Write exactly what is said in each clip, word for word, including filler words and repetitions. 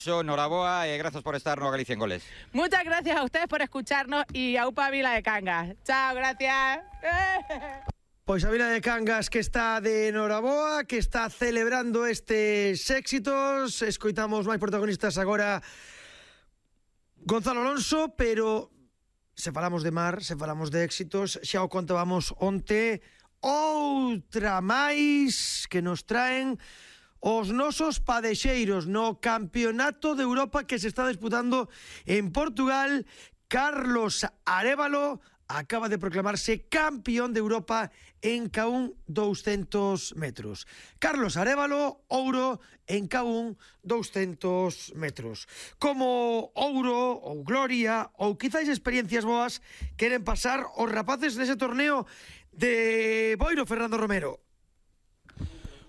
Noraboa, eh, gracias por estar no Galicia en Goles. Muchas gracias a ustedes por escucharnos y a Upa Vila de Cangas. Chao, gracias. Pois a Vila de Cangas que está de Noraboa, que está celebrando estes éxitos. Escoitamos máis protagonistas agora Gonzalo Alonso, pero se falamos de mar, se falamos de éxitos, xa o contábamos onte, outra máis que nos traen os nosos padexeiros no Campeonato de Europa que se está disputando en Portugal. Carlos Arévalo acaba de proclamarse campeón de Europa en K uno doscientos metros. Carlos Arévalo, ouro en K uno doscientos metros. Como ouro ou gloria ou quizáis experiencias boas queren pasar os rapaces nese torneo de Boiro, Fernando Romero.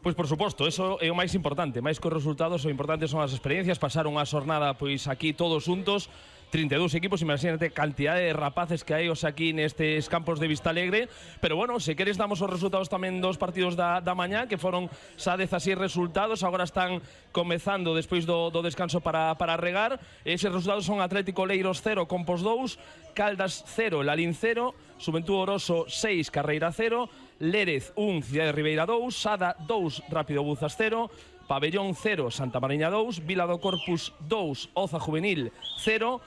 Pois por suposto, eso é o máis importante. Máis que os resultados, o importante son as experiencias. Pasaron a xornada pois aquí todos juntos, trinta e dous equipos, imagínate cantidad de rapaces que hai os aquí nestes campos de Vistalegre. Pero bueno, se queres damos os resultados tamén dos partidos da, da mañá, que foron xa dezasseis resultados, agora están comezando despois do, do descanso para, para regar. Eses resultados son Atlético Leiros cero, Compos dous, Caldas cero, Lalín cero, Xuventud Oroso seis, Carreira cero, Lérez un, Cidade Ribeira dous, Sada dous, Rápido Buzas cero, Pabellón cero, Santa Mariña dous, Vila do Corpus dous, Oza Juvenil cero,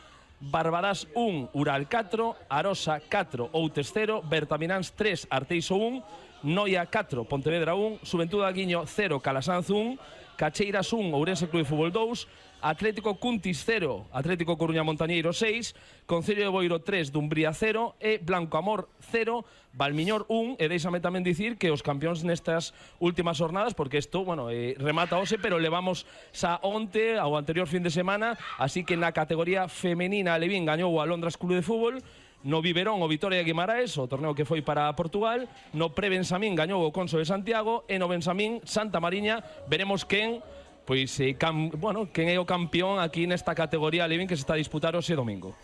Barbarás un, Ural catro, Arosa catro, Outes cero, Bertamináns tres, Arteixo un, Noia catro, Pontevedra un, Xuventud Aguiño cero, Calasanz un, Cacheiras un, Ourense Club de Fútbol dous, Atlético Cuntis cero, Atlético Coruña Montañeiro seis, Concello de Boiro tres, Dumbría cero e Blanco Amor cero, Valmiñor un, e deixame tamén dicir que os campións nestas últimas jornadas, porque isto, bueno, eh, remata hoxe, pero levamos xa onte ao anterior fin de semana, así que na categoría femenina Alevín gañou o Alondras Club de Fútbol, no Viverón o Vitoria de Guimaraes, o torneo que foi para Portugal, no Pre-Bensamín gañou o Conso de Santiago e no Bensamín Santa Mariña. Veremos quen pois eh, cam, bueno, quen é o campeón aquí nesta categoría Alevín que se está a disputar hoxe domingo.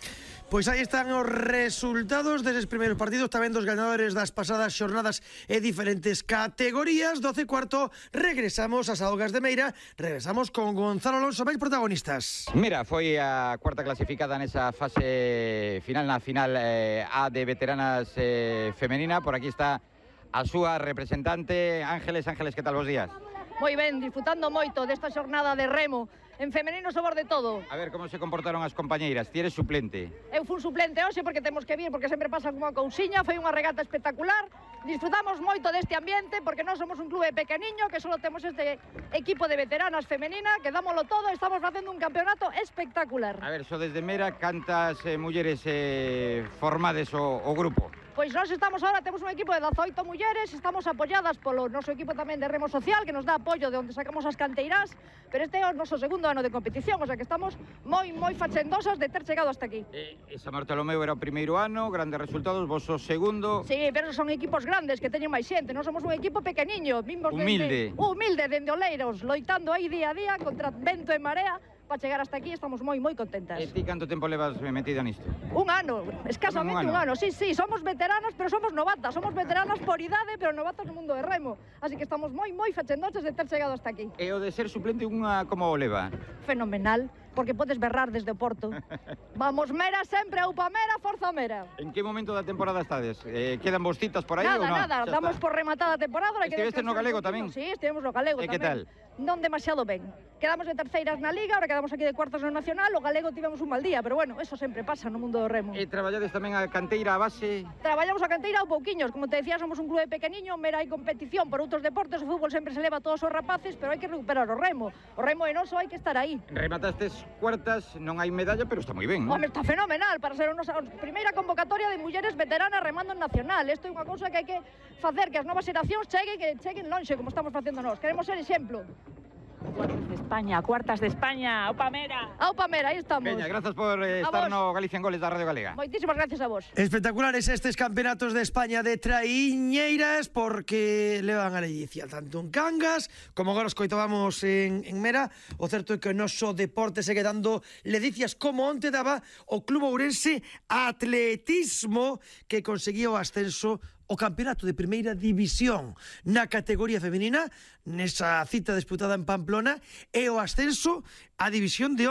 Pois aí están os resultados deses primeiros partidos, tamén dos ganadores das pasadas xornadas e diferentes categorías. doce e cuarto, regresamos ás Augas de Meira, regresamos con Gonzalo Alonso, máis protagonistas. Mira, foi a cuarta clasificada nesa fase final, na final eh, A de veteranas eh, femenina. Por aquí está a súa representante, Ángeles. Ángeles, que tal, bos días? Moi ben, disfrutando moito desta xornada de remo. En femenino sobor de todo. A ver, como se comportaron as compañeiras? Ti eres suplente? Eu fun suplente hoxe porque temos que vir, porque sempre pasa como a cousiña. Foi unha regata espectacular. Disfrutamos moito deste ambiente porque nós somos un clube pequeniño que só temos este equipo de veteranas femenina que dámoslo todo e estamos facendo un campeonato espectacular. A ver, so desde Mera, cantas eh, mulleres eh, formades o, o grupo? Pois nós estamos ahora, temos un equipo de dezaoito mulleres, estamos apoiadas polo noso equipo tamén de remo social, que nos dá apoio de onde sacamos as canteirás, pero este é o noso segundo ano de competición, o sea que estamos moi, moi facendosas de ter chegado hasta aquí. Eh, San Bartolomeu era o primeiro ano, grandes resultados, vos o segundo... Sí, pero son equipos grandes, que teñen máis xente, non somos un equipo pequeniño, vimos humilde. Dende, humilde, dende Oleiros, loitando aí día a día contra vento e marea, para chegar hasta aquí estamos moi, moi contentas. E ti canto tempo levas metida nisto? Un ano, escasamente un ano. un ano. Sí, sí, somos veteranas, pero somos novatas. Somos veteranas por idade, pero novatas no mundo de remo. Así que estamos moi, moi fachendoches de ter chegado hasta aquí. E o de ser suplente unha como o leva? Fenomenal, porque podes berrar desde o Porto. Vamos, Mera sempre, aupa Mera, forza Mera. En que momento da temporada estades? Eh, quedan vos citas por aí nada, ou non? Nada, nada, damos por rematada a temporada. Estiveste no galego tamén? Sí, estivemos no galego tamén. E que tal? Non demasiado ben. Quedamos de terceiras na Liga, ahora quedamos aquí de cuartos no Nacional, o galego tivemos un mal día, pero bueno, eso sempre pasa no mundo do remo. E traballades tamén a canteira, a base? Traballamos a canteira ou pouquiños, como te decía, somos un clube pequeniño, Mera hai competición por outros deportes, o fútbol sempre se leva a todos os rapaces, pero hai que recuperar o remo. O remo é noso, hai que estar aí. Rematastes cuartas, non hai medalla, pero está moi ben, non? Home, está fenomenal para ser a nosa primeira convocatoria de mulleres veteranas remando en Nacional. Isto é unha cousa que hai que facer que as novas xeracións cheguen, que cheguen lonxe, como estamos facendo nós. Queremos ser exemplo. Cuartas de España, cuartas de España, aupa Mera. Aupa Mera, aí estamos. Veña, grazas por eh, estar no Galicia en Goles da Radio Galega. Moitísimas gracias a vos. Espectaculares estes campeonatos de España de traiñeiras, porque levan a ledicia tanto en Cangas como agora os coitábamos en, en Mera. O certo é que o noso deporte segue dando ledicias, como onte daba o Club Ourense Atletismo, que conseguía o ascenso o campeonato de primeira división na categoría femenina, nesa cita disputada en Pamplona, e o ascenso á división de honra.